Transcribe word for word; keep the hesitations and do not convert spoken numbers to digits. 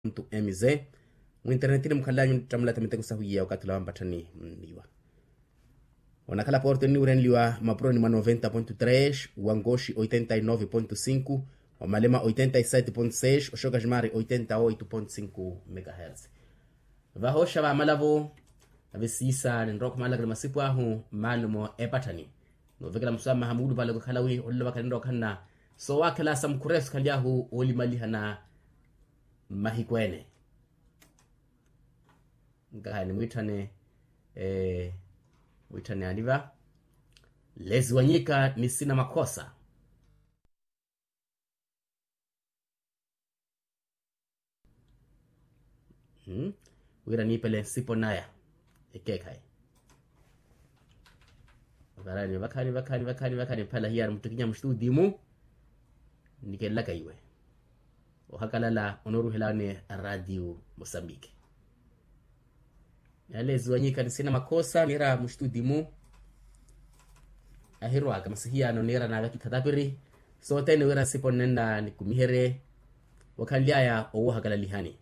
Mz. Mwinternetini mukhalanyu nittamulata miteko sahuyiya okathi ula wampatthani mniwa. Onakhala porto enniwurenliwa mapuroni mwa noventa ponto tres, wankoxi oitenta y nove ponto cinco, wamalema oitenta y sete ponto seis, oxokajimari oitenta y oito ponto cinco megahertz. Vahooxa vamala-vo. Nave siisa ninrowa okhumalaka ni masipu ahu mmalumo epatthani, novekela muswamaha muulupale okhala wi olelo vakhala ninrowa okhanna soowakhela sa mukhureso khanly'ahu oolimalihana mmahiku ene. Nkahaya nimwitthane, mwitthaneyani va. Lezi wanyika ni sina makhosa. Wira niipele nsipo naya ekeekhayi. Varani vakhani vakhani vakhani vakhani mphala hiyari muttikinya mustutimu. Nnikelelaka iwe ohakalala onooruhelani radio mosambiki. Nale ziwanyika nisina makhosa niira mustutimu. Ahirwaka masi hiyano niira naavaki thatapiri sothene wira nsipo nnenna nikumiherye. Wakhanly'aya owohakalalihani.